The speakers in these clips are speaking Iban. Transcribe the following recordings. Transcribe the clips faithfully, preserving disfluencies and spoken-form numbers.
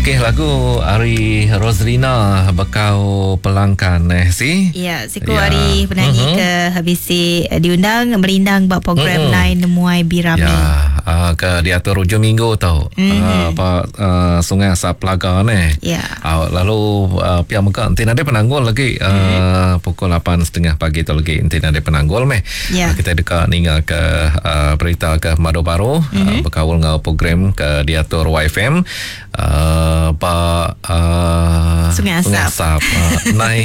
Okey, lagu ari Roslina Bekau Pelangkan eh si. Ya, siku Ya. hari penyanyi Mhm. ke habisi diundang merindang buat program Mm-mm. Nine Nemuai Birami. Ya, uh, ke diatur hujung minggu tau. Mhm. Uh, apa uh, Sungai Asap Pelaga ni. Ya. Uh, lalu uh, pihak mega nanti ada penanggul lagi uh, Mhm. pukul lapan tiga puluh pagi tu lagi nanti ada penanggul meh. Ya. Uh, kita dekat ninga ke uh, berita ke Madu Baru Mhm. uh, berkaul dengan program ke diatur Y F M uh, pak uh, Sungai Asap. Sungai Asap. Uh, nai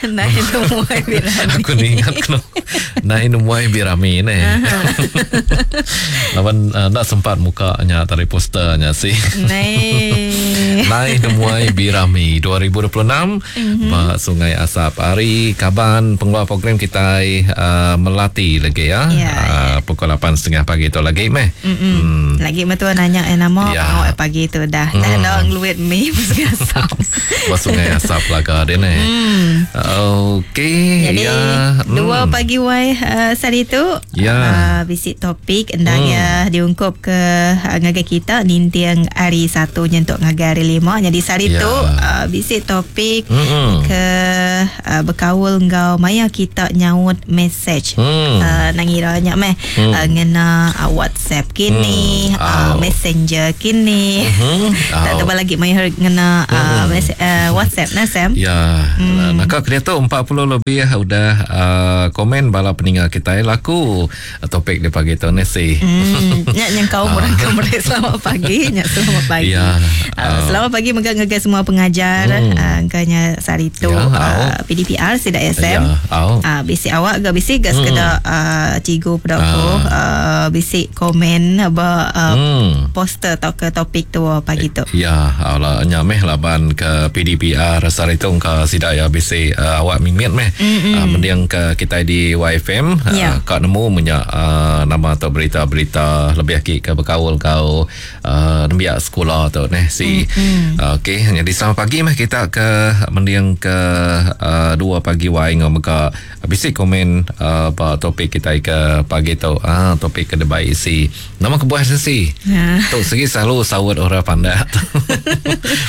Nine Nemuai Birami. Aku ni ingat kena Nai Nemuai Birami ni. Lawan uh, nak sempat mukanya tari posternya sih. Nai. Nai Nemuai Birami dua ribu dua puluh enam Mhm. mm-hmm. Sungai Asap. Hari kaban pengeluar program kita uh, Melati lagi ya. Ya, uh, pukul lapan tiga puluh pagi tu lagi meh. Mm-mm. Lagi betul nanya eh nama Ya. awak pagi tu dah. Dah Mm. dah ngeluit mi Sungai Asap. Ba Sungai Asap laga dia ni. Hmm. Okey, Jadi ya. dua Hmm. pagi wai uh, sehari tu Ya. uh, bisi topik endangnya hmm. diungkup ke uh, ngagai kita nintiang hari satu nyentuk ngagai hari lima. Jadi sehari Ya. tu uh, bisi topik Mm-mm. ke uh, berkaul ngau maya kita nyaut message. Hmm. Uh, nangira nyak meh Hmm. uh, ngena uh, WhatsApp kini, Hmm. uh, Au. Messenger kini. Mhm. Tak Au. tebal lagi maya ngena uh, mes- uh, WhatsApp nah Sam. Ya, hmm. Naka kena tu empat puluh lebih udah uh, komen bala peninggal kita laku topik di pagi tu ni si. Hmm, nyak yang kau orang kau mereka selamat pagi, nyak selamat pagi. Ya. Uh, selamat pagi mega ngagai semua pengajar Hmm. uh, kanya sehari tu Ya, uh, P D P R sidak S M. Ya, au. Ah, bisi awak ke bisi ke sekedar uh, cikgu pedaku Ah. uh, bisi komen ba uh, Hmm. poster atau ke topik tu pagi tu. Ya, ala nyameh laban ke P D P R sehari tu ke sidak ya bisi uh, awak mimit meh. Uh, mending ke kita di Y F M uh, Ya. kak nemu menyak uh, nama atau berita-berita lebih lagi ke berkaul kau uh, nembiak sekolah tu neh si. Uh, Okey, jadi selamat pagi meh kita ke mending ke uh, dua pagi Y ngau mega bisi komen uh, ba topik kita ke pagi tu. Ah, topik ke debai si. Nama kebuah sesi. Ya. Tu segi selalu sawut orang pandai.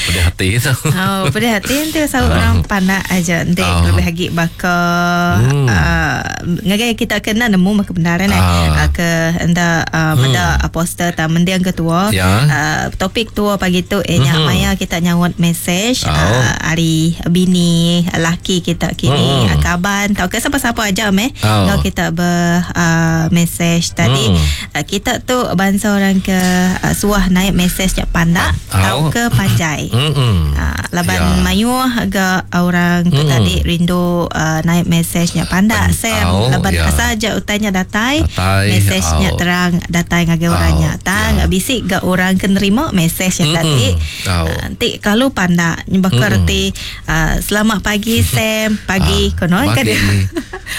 Pedih hati tu. Oh, pada hati nanti sahut Ah. orang pandai aja nanti Ah. lebih lagi bakal Hmm. uh, ngagai kita kena nemu mah kebenaran eh Ah. uh, ke enda uh, Hmm. meda uh, poster ta mendiang ketua Ya. uh, topik tua pagi tu eh nyak Mhm. maya kita nyawat message Oh. uh, hari bini laki kita kini Hmm. uh, kaban tau ke siapa-siapa aja meh Oh. kalau kita ber uh, message tadi Hmm. uh, kita tu bangsa orang ke uh, suah naik message jak pandak Oh. tau ke panjai. Hmm. Ha, laban Ya. mayu agak orang ke Mm. tadi rindu uh, naik mesejnya pandak Pen- Sam au, laban ya. asal aja utanya datai Datai, mesejnya au. terang datai ngagai Au, orangnya tang ya. bisik gak orang ke nerima mesej yang Mm-mm. tadi Au. Ah, nanti kalau pandak bakal Mm-mm. reti uh, selamat pagi Sam pagi Ah, kono kan pagi. dia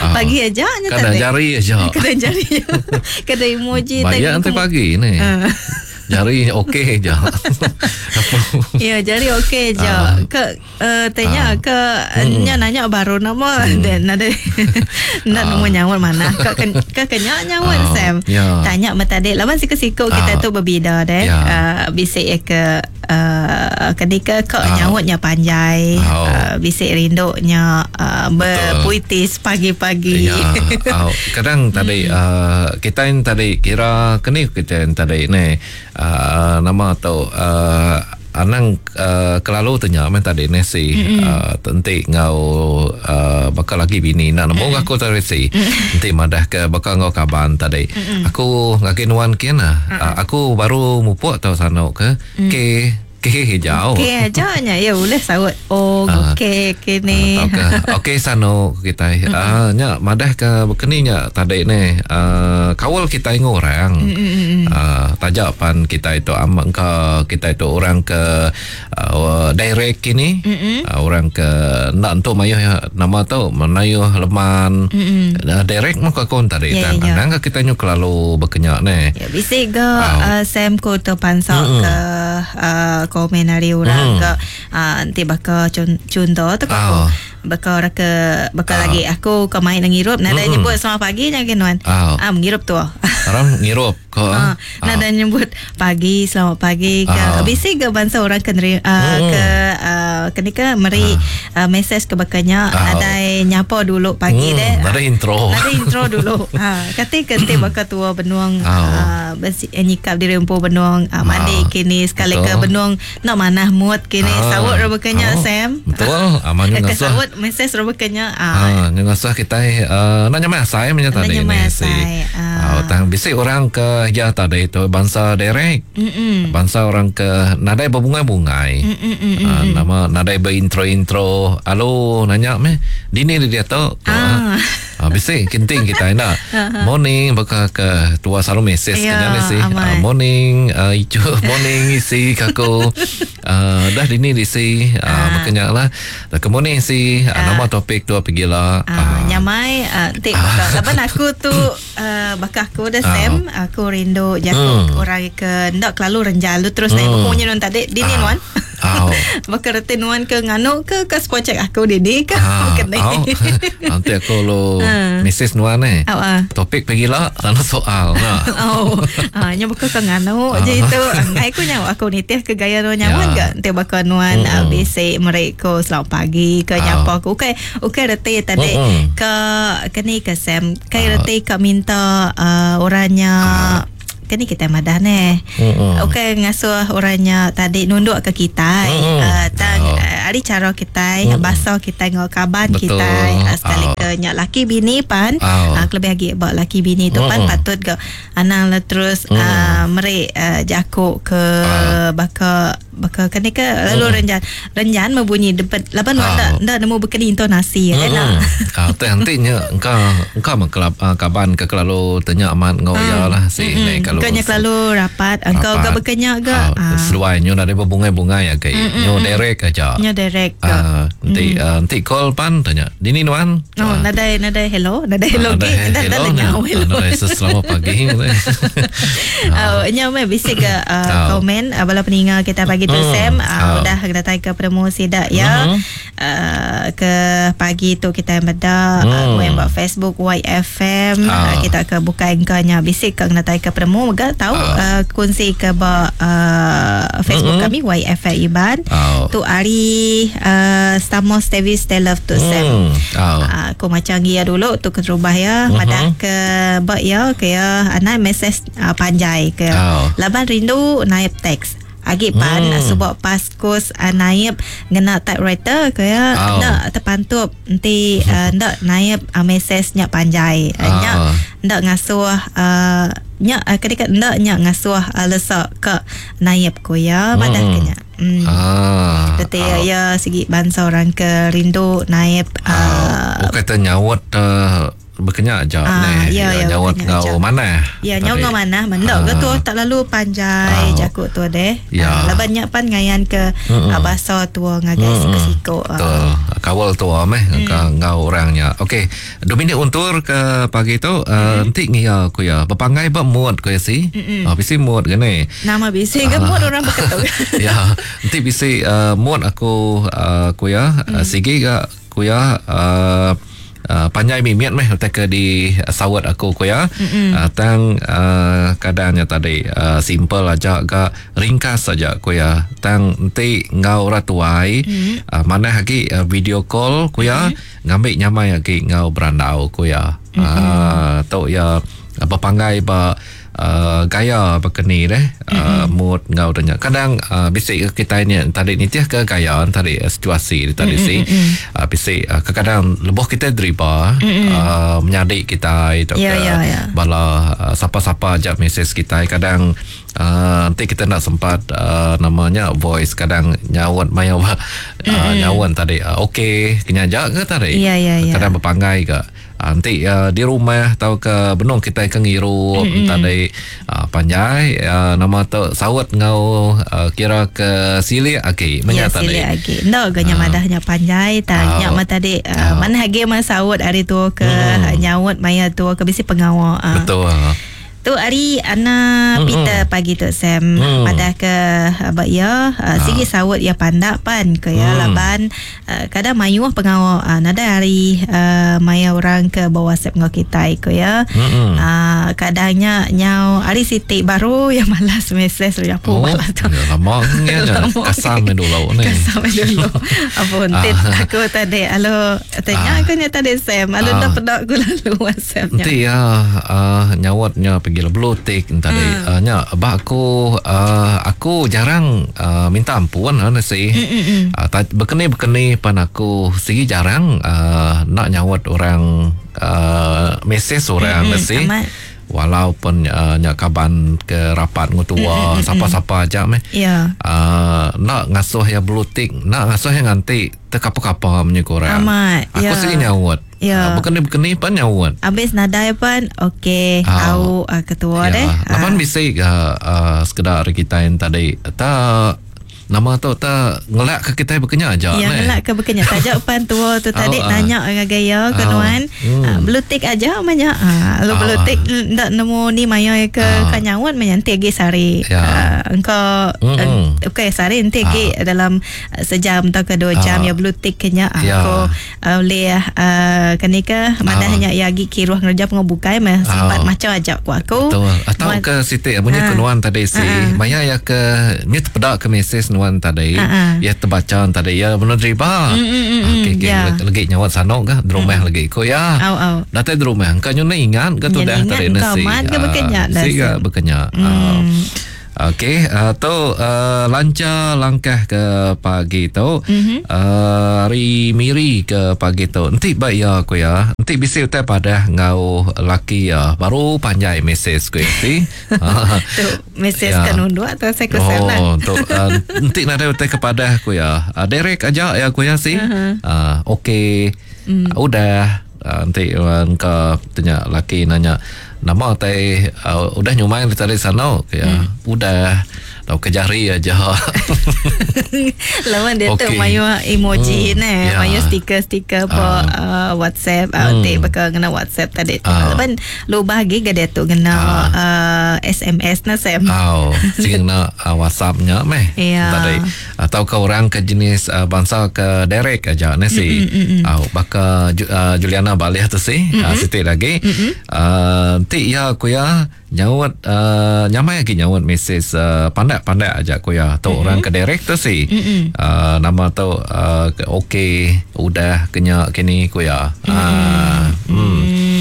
Ah. pagi aja nya Kena tadi jari aja. kena jari kena emoji Bayar nanti pagi ni. Ah. Jari okey je. Apa? Ya, jadi okey je. Ah. Ke uh, tanya Ah. ke nya nanya baru nama dan ada nak Ah. nemu nyawa mana. Ke ke, ke kenya nyawa Ah, Sam. ya. Tanya mata dek lawan siku-siku kita Ah. tu berbeza deh. Ya. Uh, bisik ya ke uh, ketika ke Ah. nyawanya panjai, Oh. uh, bisik rinduknya uh, berpuitis pagi-pagi. Ya, au. Kadang tadi uh, kita yang tadi kira kini kita yang tadi ni uh, nama tu uh, anang uh, kelalu tanya men tadi ni si uh, tentik ngau uh, bakal lagi bini nak nemu aku tadi si nanti madah ke bakal ngau kaban tadi aku ngaki nuan kian lah uh, aku baru mupuk tau sanok ke ke ke hijau Okey aja nya ya boleh sawut. Oh, Ah. okey okey ni. Ah, tauka okey sano kita ah nya madah ke bekeni nya tadi ni ah, kawal kita ingu orang ah, tajak pan kita itu amak ke kita itu orang ke uh, direct kini ah, orang ke nak untuk mayuh ya, nama tu menayuh leman uh, direct muka kon tadi Ya, tan ya, ya. anang ke kita nyu kelalu bekenyak ni Ya, bisik ke Ah. uh, Sam ko terpansak Mm-mm. ke uh, komen hari orang Mm. ke uh, nanti bakal contoh tu Ah. aku Baka orang ke baka uh. lagi aku ke main ngirup nadai mm-hmm. nyebut selamat pagi nyagi nuan. Ah uh. ngirup tu. Orang ngirup ko. Uh. Nadai nyebut pagi selamat pagi ke uh. bisi ke bangsa orang ke neri, uh, mm. ke uh, kini ke meri uh. uh, message ke bakanya uh. nadai nyapa dulu pagi mm. deh. Nadai intro. Nadai intro dulu. Ha kati ke ti baka tua benuang uh. uh, nyikap diri empu benuang uh, mandi uh. kini sekali ke benuang nak manah mood kini uh. sawut bakanya uh. Sam. Betul. Aman ke sawut message bakanya. Ah uh, ngasah kita uh, nak nyamai asai macam tadi ni si. Ah tang bisi orang ke ya tadi tu bangsa direct. Mm-mm. Bangsa orang ke nadai berbungai-bungai. Uh, nama nadai berintro-intro. Alo nanya meh dini dia tu. Ah. Uh, bisi kenting kita nak. Morning baka ke tua selalu message ya, kena si. Uh, morning uh, icu morning isi kaku. Uh, dah dini disi uh, uh. Makanya lah. Ke morning si uh. Uh, nama topik tu pergi lah. Uh, uh. Nyamai uh, tik uh. Laban aku tu uh, baka aku dah Sam uh. aku rindu jaku hmm. orang ke ndak kelalu renjalu terus naik hmm. punya non tadi dini uh. nuan. Oh. Baka reti nuan ke nganu ke ke spocek aku dini ke ah, kene. Oh. Nanti aku lo uh. message nuan eh. Oh, uh. Topik pergi lah tanah soal nah. Oh. Ah nya baka ke nganu uh. je itu. Ngai aku nyawa aku nitih ke gaya nuan nyaman yeah. ke nanti baka nuan mm. uh, bisi mereka selamat pagi ke oh. nyapa aku. Okey, okey reti tadi mm-hmm. ke keni ke Sam. Kai uh. reti ke minta uh, orangnya uh. Kini kita madah neh. Mm-hmm. Okey ngasuh orangnya tadi nunduk ke kita. Mm-hmm. Uh, tang oh. uh, ari cara kita, mm-hmm. bahasa kita ngau kaban betul. Kita uh, sekali oh. ke nyak laki bini pan, oh. uh, lebih lagi bak laki bini tu mm-hmm. pan patut ke anang lah terus mm. uh, merik uh, jakuk ke oh. baka baka kene ke lalu mm. renjan renjan membunyi depan laban oh. ndak ndak nemu bekeni intonasi mm. ya nak. Ah teh nanti nya engkau engkau mengkelap uh, kaban ke kelalu tanya amat ngau mm. ya lah si mm-hmm. mm. kalau kenya kelalu rapat engkau ke bekenya ke ah. Seluai nyo ada berbungai-bungai ya ke nyo direct aja nyo direct ke ah nanti uh, nanti call pan tanya dini nuan oh uh. nadai nadai hello nadai hello ke nadai hello nadai selamat pagi. Oh nya me bisi ke komen bala peninga kita pagi tu Sam uh, udah datang ke promosi dak ya. Mm-hmm. Uh, ke pagi tu kita meda mm. uh, buat Facebook Y F M uh. uh, kita ke buka engkaunya bisi ke datang ke promo mega tahu uh. uh, kunci ke ba uh, Facebook mm-hmm. kami Y F M Iban uh. tu hari uh, Stamos Davis Love tu Sam. Mm. Uh. Uh, aku macam gia dulu tu ke rumah ya mm-hmm. madah ke ba ya ke ya anak mesej uh, panjai ke uh. laban rindu naik teks agi pan hmm. sebab pas kos uh, naib ngena typewriter ke ya oh. ndak terpantup nanti uh, ndak naib uh, mesej nya panjai uh, oh. nya ndak ngasuh uh, nya uh, ketika ndak nya ngasuh uh, lesak ke naib ko ya madah hmm. kenya hmm. Ah. Kata oh. ya segi bangsa orang ke rindu naib uh, oh kata nyawat uh, berkenyak aja ah, neh ya, ya, nyawat ngau mana ya nyawa ngau mana mendok ke tu tak lalu panjai ah. jakuk tu deh ya. Ah, laban nyak pan ngayan ke mm-mm. bahasa tua ngagai siko betul kawal tua meh mm. ngau orangnya okey Dominic untur ke pagi tu uh, mm. entik ngia ku ya berpanggai ba mood ku ya si ah bisi mood ke ni nama bisi ke mood orang berketuk ya entik bisi uh, mood aku uh, ku ya mm. uh, sigi ga ku ya uh, Uh, panjai mimiat meh utai ke di uh, sawat aku ko ya uh, tang uh, kadangnya tadi uh, simple aja ga ringkas saja ko ya tang enti ngau orang tuai mm. uh, mana lagi uh, video call ko ya mm. ngambil nyamai lagi ngau berandau ko ya mm. uh, tok ya berpanggai ba Uh, gaya berkeni deh uh, mood ngau tanya kadang uh, bisik kita ni tadi nitih ke gaya tadi uh, situasi tadi mm-hmm. si uh, bisik uh, kadang lebuh kita driba mm-hmm. uh, menyadik kita itu yeah, ke yeah, yeah. bala uh, siapa-siapa aja mesej kita kadang uh, nanti kita nak sempat uh, namanya voice kadang nyawat maya uh, mm-hmm. nyawan tadi uh, okey kena ajak ke tadi yeah, yeah, yeah. Kadang berpanggai ke nanti uh, di rumah atau ke benung kita ke ngirup mm-hmm. tadi uh, panjai uh, nama tu sawat ngau uh, kira ke silik agi ya menyata silik agi ndo ganya uh. madahnya panjai tanya uh. uh. tadi uh, uh. mana hagi mah sawat hari tu ke mm. nyawat maya tu ke bisi pengawal uh. Betul. Tu hari Ana mm-hmm. Peter pagi tu Sam mm. pada ke abak ya uh, sigi sawut ya pandak pan ke ya mm. laban uh, kadang mayuh pengawal uh, nada hari uh, maya orang ke bawa WhatsApp ngau kita ke ya mm-hmm. uh, kadangnya nyau hari Siti baru yang malas mesej ya oh, malas tu ya, lama nya kasam dulu ni kasam dulu ampun tit aku tadi alo tanya aku nya tadi Sam alo dah pedak aku lalu WhatsApp nya nanti ya uh, nyawatnya pergi blue tick tadi hmm. uh, nya bak aku uh, aku jarang uh, minta ampun uh, nasi hmm. uh, berkeni-berkeni pan aku sigi jarang uh, nak nyawat orang uh, mesej orang hmm. nasi walaupun uh, nyak kaban ke rapat ngutua mm, mm, siapa-siapa aja meh yeah. uh, nak ngasuh ya blue tick nak ngasuh yang nganti terkapa-kapa punya korang amat aku yeah. sigi nyawat yeah. uh, berkeni-berkeni pan nyawat habis nadai pan okey uh, au uh, ketua yeah. deh lapan uh. bisik uh, uh, sekedar kita yang tadi tak nama tu tak ngelak ke kita berkenya aja ya ngelak ke berkenya tajak pan tua tu tadi oh, nanya dengan gaya ke nuan hmm. uh, blue tick aja banyak ah lu blue tick ndak nemu ni maya ke uh. kanyawat menyanti lagi sari ya. uh, engkau mm-hmm. okey sari nanti lagi uh. dalam sejam atau ke dua jam uh. ya blue tick kenya ya. aku uh, boleh uh, kenika mana uh. hanya ya lagi kiruh ngerja pengobukai meh sempat uh. macam ajak ku aku betul atau ke Siti bunyi uh. ke nuan tadi si uh. maya ya ke ni terpedak ke mesej nuan tadi uh-huh. ya terbaca tadi ya benar riba mm, mm, mm, okey okey yeah. lagi nyawa sanok ke di rumah mm. lagi ko ya au au datai di rumah engkau nyonya ingat ke tu dah tadi nasi ingat ke berkenyak dah si ke berkenyak okey uh, tu uh, lancar langkah ke pagi tu mm-hmm. uh, hari miri ke pagi tu nanti baik ya aku ya nanti bisi utai padah ngau laki ya baru panjai mesej ku si tu mesej ya. kan undu atau saya kesal lah oh tu uh, nanti nada utai kepada aku ya uh, direct aja ya aku ya si uh-huh. uh, okey mm. uh, udah uh, nanti uh, engkau tanya laki nanya nama tai uh, udah nyumai tadi sana ya hmm. udah tau ke jari aja lawan dia okay. tu mayu emoji hmm. ne yeah. mayu stiker-stiker po uh. uh, WhatsApp uh, hmm. uh, bakal kena WhatsApp tadi uh. lawan lu bahagi ke dia tu kena uh. uh, S M S na Sam oh sing na uh, WhatsApp-nya meh yeah. tadi atau ke orang ke jenis uh, bangsa ke direct aja ne si mm, mm, mm. uh, baka uh, Juliana balik tu si mm-hmm. uh, sitik lagi mm-hmm. uh, ti ya aku ya nyawat uh, nyamai lagi nyawat mesej uh, pandak-pandak aja aku ya tu mm-hmm. orang ke direct tu si mm-hmm. uh, nama tu uh, okey udah kenya kini aku ya mm-hmm. uh, mm.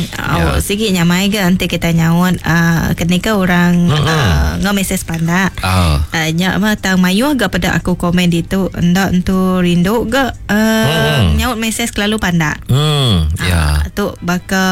Ya. Oh, sigi nyamai ke nanti kita nyawat uh, kenika orang mm-hmm. uh, ngau mesej pandak uh. Uh, nyak mah tang mayu agak pada aku komen di tu ndak entu rindu ke uh, mm. nyawat mesej kelalu pandak mm. ya uh, tu baka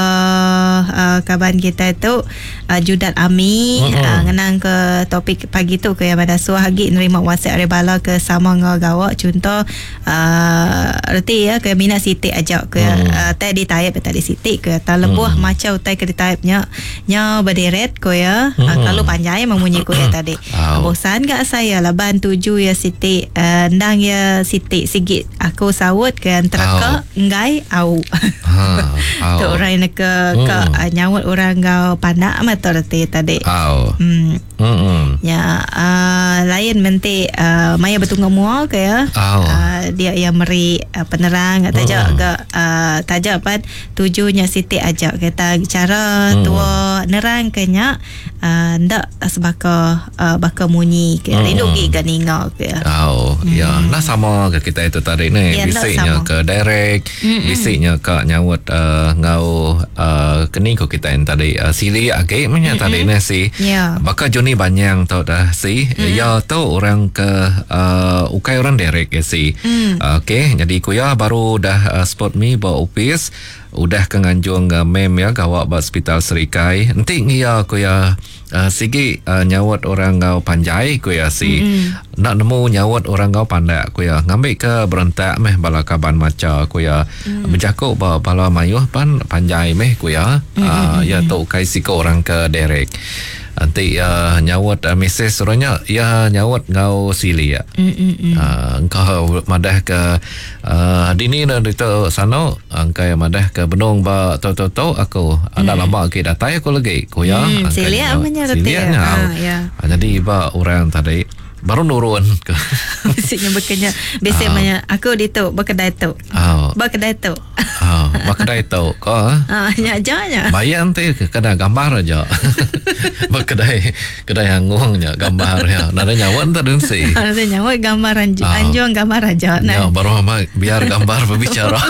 uh, kaban kita tu uh, Judat Ami mm-hmm. uh, ngenang ke topik pagi tu ke yang pada suah lagi nerima WhatsApp dari bala ke sama ngau gawak contoh uh, reti ya ke minat sitik ajak ke mm. uh, tadi type tadi sitik ke tak lebuh mm. macam utai ke type nya nya berderet ko ya Mm-mm. uh, kalau panjang memunyi ko ya tadi Au. bosan gak saya laban tuju ya sitik uh, ndang ya sitik sigit aku sawut ke antara ke enggai au ha au tu orang yang ke ke Mm. uh, nyawut orang kau pandak amat reti tadi au hmm Mm-mm. ya uh, lain menti uh, maya betungga mua ke ya Au. uh, dia yang meri uh, penerang atau Mm. tajak ke uh, tajak pan tujunya sitik ajak kita cara Mm. tua nerang kenya uh, ndak sebaka uh, baka munyi ke Mm. rindu gi ke ninga ke ya Oh, hmm. ya. Nah sama ke kita itu tadi ni. Ya, nak Bisiknya sama. ke direct, Mm-mm. bisiknya ke nyawut uh, ngau uh, keni ko kita yang tadi uh, sili age punya tadi ni si. Ya. Baka Joni Banyang tau dah si. Mm. Ya tu orang ke uh, ukai orang direct ke si. Mm. Uh, Okey, jadi kuya baru dah uh, spot me ba office udah ke nganjung uh, mem ya gawak ba hospital Serikai. Enti ngia kuya uh, sigi uh, nyawat orang ngau panjai kuya si. Mm. Nak nemu nyawat orang ngau pandak kuya. Ngambil ke berentak meh bala kaban maca kuya. Mm. Berjakuk ba bala mayuh pan panjai meh kuya. Mm. Uh, ya tu kai siko orang ke direct. Nanti uh, nyaut uh, mesej orangnya ya nyaut ngau silik. Mm -mm. Uh, engkau madah ke uh, dini na dito sano angkai madah ke benung ba to to to aku anda mm. lama lagi datai aku lagi ku ya mm, silik amanya reti ya. Ya. Jadi ba orang tadi baru nurun ke bisiknya bekenya bisik uh, aku di tu berkedai tu. Oh. Berkedai tu. Oh, berkedai tu ko. Ah, nya aja nya. Bayang ti kena gambar aja. Berkedai kedai angungnya gambar ya. Nada nyawa entar densi. Nada nyawa gambar anju, oh. Anjung gambar aja. Nah. Ya, baru ama biar gambar berbicara.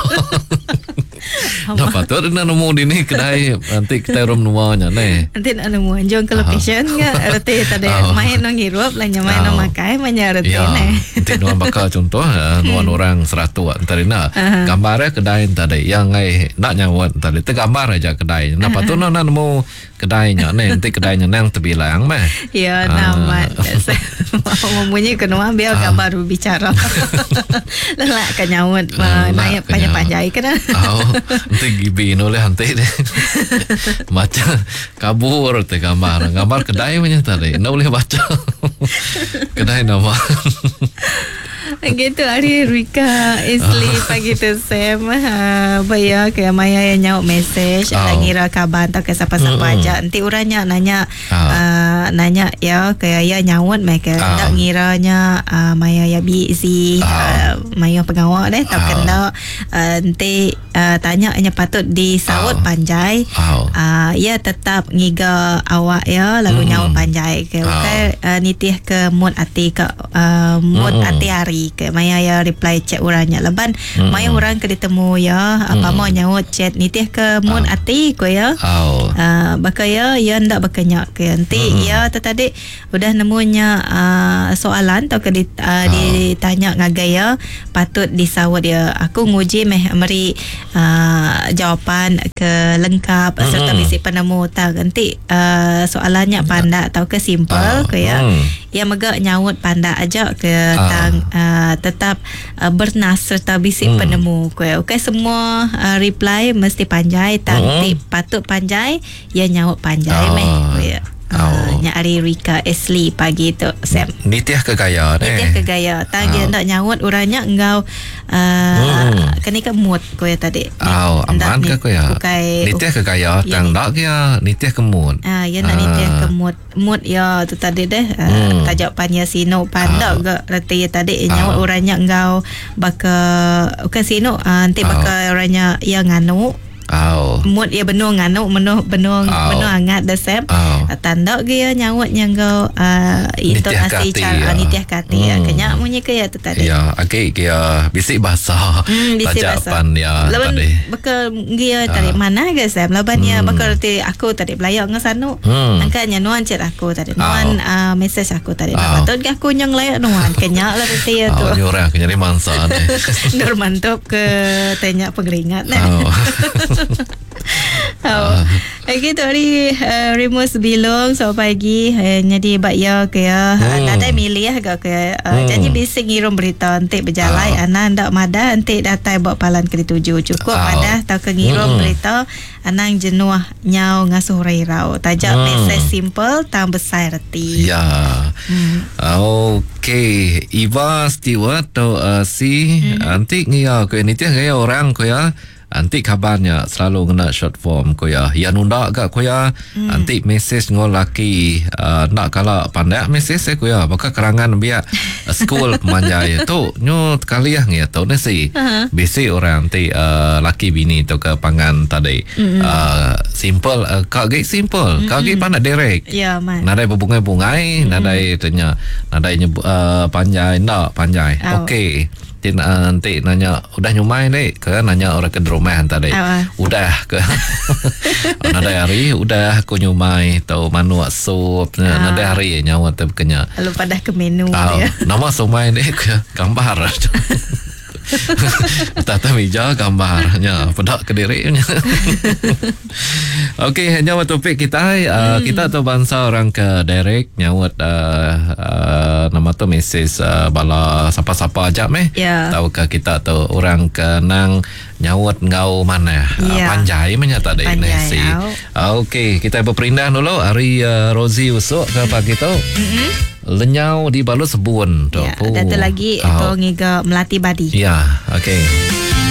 Nah, patut nak nemu di ni kedai nanti kita room nuanya ni. Nanti nak nemu anjung ke location ke reti tadi oh. Main nong ngirup lah main nong makai main reti ya, ni. Nanti nuan bakal contoh nuan orang seratus tadi nak gambarnya kedai tadi yang ngai nak nyawa tadi tergambar aja kedai. Nah, patut nak nemu kedainya ni nanti kedainya nang terbilang meh. Ya, nama. Mau bunyi ke nuan biar gambar berbicara. Lelak ke nyawa naik panjang-panjang kena. Oh, nanti gibi noleh nanti deh. Baca kabur te gambar. Gambar kedai punya tadi. Nak boleh baca. Kedai nama. Gitu hari Rika Isli pagi tu Sam uh, bayar ke Maya yang nyaut message oh. Lagi ngira kabar atau ke siapa-siapa mm-hmm. aja. Nanti orangnya nanya oh. uh, nanya ya ke ya nyaut mereka oh. Tak ngiranya uh, Maya ya busy oh. uh, Maya pengawal deh tak oh. kena uh, nanti uh, tanya nya patut disaut oh. panjai oh. Uh, ya tetap ngiga awak ya lalu mm. nyaut panjai ke oh. Okay, uh, nitih ke mood ati ke uh, mood mm. ati hari ke Maya ya reply chat orangnya leban mm. Maya orang ke ditemu ya apa mm. mau nyaut chat nitih ke mood oh. ati ko ya oh. uh, baka ya ya ndak berkenyak ke nanti mm. ya tadi udah nemunya uh, soalan atau ke dit, uh, oh. ditanya ngagai ya patut disawat ya aku nguji meh meri uh, jawapan ke lengkap mm. serta bisi penemu tak nanti uh, soalannya pandak atau ke simple oh. ke ya mm. Ya megak nyaut pandak aja ke oh. tang uh, tetap uh, bernas serta bisik hmm. penemu ke. Okey semua uh, reply mesti panjai tang hmm. patut panjai ya nyaut panjai oh. meh ke ya. Oh. Uh, nya ari Rika Ashley pagi tu Sam. Nitih ke gaya ni. Nitih ke gaya. Tang dia Oh. ndak nyaut orangnya engau uh, hmm. kena ke mood ko ya tadi. Oh, aman ke ko ya? Bukai nitih ke gaya ya, tang ndak ke ya nitih ke mood. Ah, ya nak nitih ke mood. Mood ya tu tadi deh. Uh, Hmm. Tajuk panya sino pandak Oh. ke reti tadi nyaut Oh. orangnya engau baka bukan sino uh, nanti Oh. baka orangnya ya nganu. Oh. Mood ya benung nganu menuh benung Oh. benung hangat dah Sam. Oh. Tanda ke ya nyautnya engkau uh, intonasi kati, cara ya. nitih kati ya. Hmm. Kenyak munyi ke ya tu tadi. Ya, agak ke ya bisik bahasa. Hmm, bisik Tajak bahasa. pan ya Laban tadi. bekal dia tadi mana ke Sam? Laban ya bekal reti aku tadi belayak dengan sanu. Hmm. Angkanya nuan chat aku tadi. Nuan Oh. uh, message aku tadi. Oh. Nah, patut ke aku nyong layak nuan. Kenyak lah reti ya tu. Oh, ni orang kena jadi mangsa ni. Nur mantap ke tanya pengeringat nah. Oh. Oh. Okey tu hari uh, Remus Bilong selamat pagi uh, jadi bak ya ke ya Hmm. hmm. nadai milih agak ke uh, Hmm. janji bising ngirum berita entik berjalai Ah. ana ndak madah entik datai buat palan ke dituju cukup Ah. madah tau ke ngirum Hmm. berita anang jenuh nyau ngasuh rai-rau tajak Hmm. mesej simple tang besar reti Ya. Hmm. Okey, Eva Stewart tu uh, si Hmm. antik ngia ke nitih gaya orang ko ya. Antik kabarnya selalu kena short form ko ya. Ya nunda gak ko ya. Hmm. Antik mesej ngol laki uh, nak kala pandak mesej eh ko ya. Baka kerangan biak uh, school pemanjai tu nyo kali ah ngia tu ni si. Uh-huh. Bisi orang antik uh, laki bini tu ke pangan tadi. Hmm. Uh, simple uh, kak ge simple. Kak ge pandak direct. Ya man. Nadai berbungai-bungai, Hmm. nadai tanya, nadai nyebut uh, panjai ndak panjai. Oh. Okey. Ti uh, nanti nanya udah nyumai dek ke nanya orang ke rumah tadi. Oh. Udah ke. Oh, nadai hari udah aku nyumai tau manuk sup Ah. nadai hari nyawa tu kenya. Lalu padah ke menu Oh, dia. nama sumai dek ke gambar. Tata meja gambarnya pedak ke diri nya. Okey, hanya topik kita uh, hmm. Kita tu bangsa orang ke direct nyaut uh, uh, nama tu mesej uh, bala sapa-sapa aja meh. Yeah. Tahu ke kita tu orang ke nang nyaut ngau mana yeah. uh, panjai menya tadi Nesi. Okey, kita berperindah dulu hari uh, Rosie usuk ke pagi tu. Mm-hmm. Lenyau di balut sebun tu. Ya, ada tu lagi oh. Tu ngiga melati badi. Ya, okey.